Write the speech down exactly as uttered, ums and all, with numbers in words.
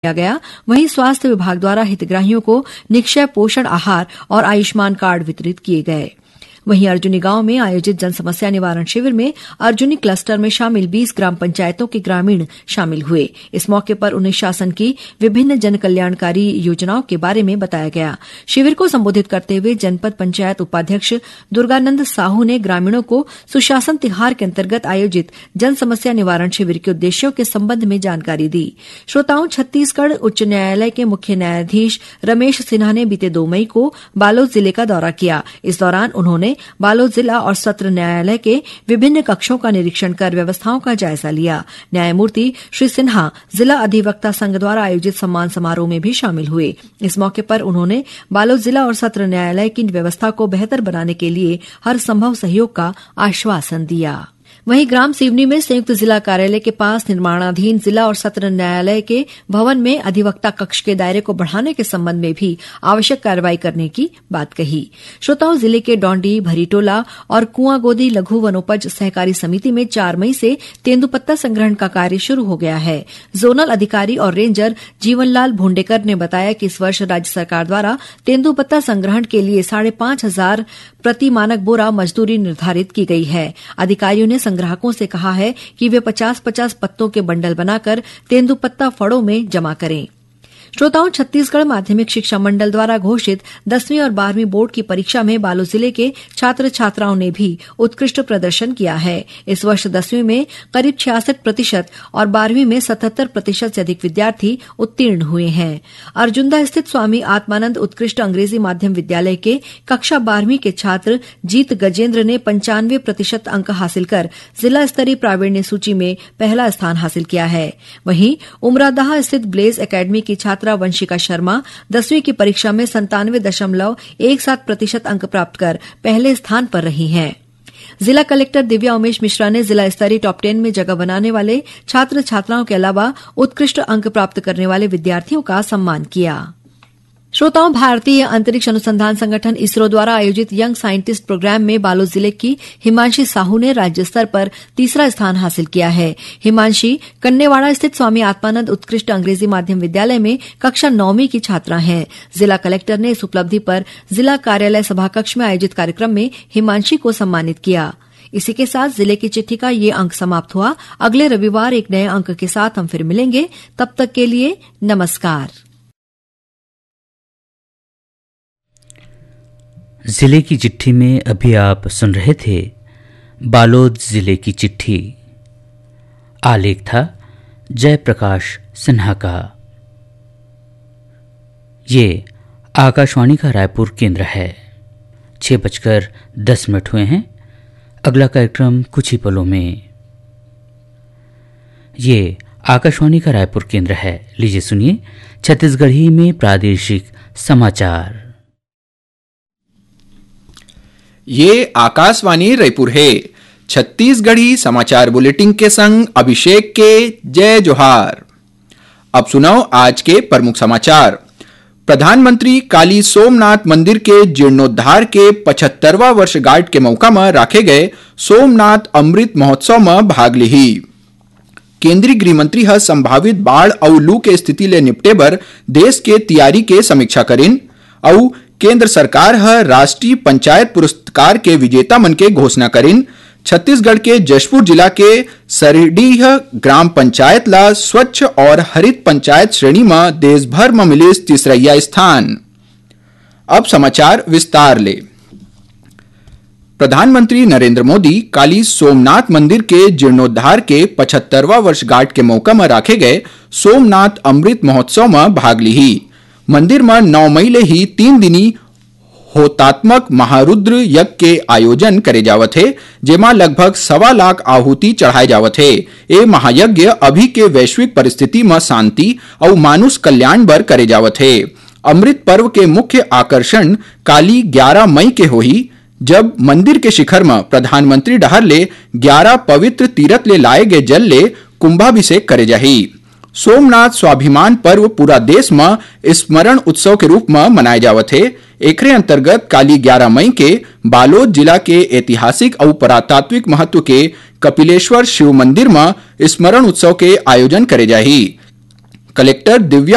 किया गया। वहीं स्वास्थ्य विभाग द्वारा हितग्राहियों को निक्षय पोषण आहार और आयुष्मान कार्ड वितरित किए गए। वहीं अर्जुनी गांव में आयोजित जन समस्या निवारण शिविर में अर्जुनी क्लस्टर में शामिल बीस ग्राम पंचायतों के ग्रामीण शामिल हुए। इस मौके पर उन्हें शासन की विभिन्न जन कल्याणकारी योजनाओं के बारे में बताया गया। शिविर को संबोधित करते हुए जनपद पंचायत उपाध्यक्ष दुर्गानंद साहू ने ग्रामीणों को सुशासन तिहार के अंतर्गत आयोजित जन समस्या निवारण शिविर के उद्देश्यों के संबंध में जानकारी दी। श्रोताओं, छत्तीसगढ़ उच्च न्यायालय के मुख्य न्यायाधीश रमेश सिन्हा ने बीते दो मई को बालोद जिले का दौरा किया। इस दौरान उन्होंने बालोद जिला और सत्र न्यायालय के विभिन्न कक्षों का निरीक्षण कर व्यवस्थाओं का जायजा लिया। न्यायमूर्ति श्री सिन्हा जिला अधिवक्ता संघ द्वारा आयोजित सम्मान समारोह में भी शामिल हुए। इस मौके पर उन्होंने बालोद जिला और सत्र न्यायालय की व्यवस्था को बेहतर बनाने के लिए हर संभव सहयोग का आश्वासन दिया। वहीं ग्राम सिवनी में संयुक्त जिला कार्यालय के पास निर्माणाधीन जिला और सत्र न्यायालय के भवन में अधिवक्ता कक्ष के दायरे को बढ़ाने के संबंध में भी आवश्यक कार्रवाई करने की बात कही। श्रोताओं, जिले के डौंडी, भरीटोला और कुआंगोदी लघु वनोपज सहकारी समिति में चार मई से तेंदूपत्ता संग्रहण का कार्य शुरू हो गया है। जोनल अधिकारी और रेंजर जीवनलाल भोंडेकर ने बताया कि इस वर्ष राज्य सरकार द्वारा तेंदूपत्ता संग्रहण के लिए साढ़े पाँच हजार प्रति मानक बोरा मजदूरी निर्धारित की गई है। अधिकारियों ने संग्राहकों से कहा है कि वे पचास पचास पत्तों के बंडल बनाकर तेंदूपत्ता फड़ों में जमा करें। श्रोताओं, छत्तीसगढ़ माध्यमिक शिक्षा मंडल द्वारा घोषित दसवीं और बारहवीं बोर्ड की परीक्षा में बालोद जिले के छात्र छात्राओं ने भी उत्कृष्ट प्रदर्शन किया है। इस वर्ष दसवीं में करीब छियासठ प्रतिशत और बारहवीं में सतहत्तर प्रतिशत से अधिक विद्यार्थी उत्तीर्ण हुए हैं। अर्जुंदा स्थित स्वामी आत्मानंद उत्कृष्ट अंग्रेजी माध्यम विद्यालय के कक्षा बारहवीं के छात्र जीत गजेंद्र ने पंचानवे प्रतिशत अंक हासिल कर जिला स्तरीय प्रावीण्य सूची में पहला स्थान हासिल किया है। वहीं उमरादहा स्थित ब्लेज एकेडमी की छात्रा वंशिका शर्मा दसवीं की परीक्षा में संतानवे दशमलव एक सात प्रतिशत अंक प्राप्त कर पहले स्थान पर रही हैं। जिला कलेक्टर दिव्या उमेश मिश्रा ने जिला स्तरीय टॉप टेन में जगह बनाने वाले छात्र छात्राओं के अलावा उत्कृष्ट अंक प्राप्त करने वाले विद्यार्थियों का सम्मान किया। श्रोताओं, भारतीय अंतरिक्ष अनुसंधान संगठन इसरो द्वारा आयोजित यंग साइंटिस्ट प्रोग्राम में बालोद जिले की हिमांशी साहू ने राज्य स्तर पर तीसरा स्थान हासिल किया है। हिमांशी कन्नेवाड़ा स्थित स्वामी आत्मानंद उत्कृष्ट अंग्रेजी माध्यम विद्यालय में कक्षा नौवीं की छात्रा हैं। जिला कलेक्टर ने इस उपलब्धि पर जिला कार्यालय सभाकक्ष में आयोजित कार्यक्रम में हिमांशी को सम्मानित किया। इसी के साथ जिले की चिट्ठी का ये अंक समाप्त हुआ। अगले रविवार एक नए अंक के साथ हम फिर मिलेंगे। तब तक के लिए नमस्कार। जिले की चिट्ठी में अभी आप सुन रहे थे बालोद जिले की चिट्ठी। आलेख था जयप्रकाश सिन्हा का। ये आकाशवाणी का रायपुर केंद्र है। छः बजकर दस मिनट हुए हैं। अगला कार्यक्रम कुछ ही पलों में। ये आकाशवाणी का रायपुर केंद्र है। लीजिए सुनिए छत्तीसगढ़ी में प्रादेशिक समाचार। ये आकाशवाणी रायपुर है। छत्तीसगढ़ी समाचार बुलेटिन के संग अभिषेक के जय जोहार। अब सुनव आज के प्रमुख समाचार। प्रधानमंत्री काली सोमनाथ मंदिर के जीर्णोद्धार के पचहत्तरवां वर्षगांठ के मौका म राखे गए सोमनाथ अमृत महोत्सव म भाग लिही। केंद्रीय गृह मंत्री ह संभावित बाढ़ अउ लू के स्थिति ले निपटे बर देश के तियारी के समीक्षा करिन अउ केंद्र सरकार ह राष्ट्रीय पंचायत पुरस्कार के विजेता मन के घोषणा करिन। छत्तीसगढ़ के जशपुर जिला के सरडीह ग्राम पंचायत ला स्वच्छ और हरित पंचायत श्रेणी म देश भर म मिलिस तीसरइया स्थान। अब समाचार विस्तार ले। प्रधानमंत्री नरेंद्र मोदी काली सोमनाथ मंदिर के जीर्णोद्धार के पचहत्तरवां वर्षगांठ के मौका म राखे गए सोमनाथ अमृत महोत्सव म भाग लिही। मंदिर म नौ मई ले ही तीन दिनी होतात्मक महारुद्र यज्ञ के आयोजन करे जावत हे, जेमा लगभग सवा लाख आहुति चढ़ाए जावत हे। ए महायज्ञ अभी के वैश्विक परिस्थिति म शांति अउ मानुष कल्याण बर करे जावत हे। अमृत पर्व के मुख्य आकर्षण काली ग्यारा मई के होही, जब मंदिर के शिखर म प्रधानमंत्री डहार ले ग्यारा पवित्र तीरथ ले लाए गे जल ले कुंभाभिषेक करे जाही। सोमनाथ स्वाभिमान पर्व पूरा देश म स्मरण उत्सव के रूप म मनाए जावत हे। एखरे अंतर्गत काली ग्यारा मई के बालोद जिला के ऐतिहासिक अउ पुरातात्विक महत्व के कपिलेश्वर शिव मंदिर म स्मरण उत्सव के आयोजन करे जाही। कलेक्टर दिव्या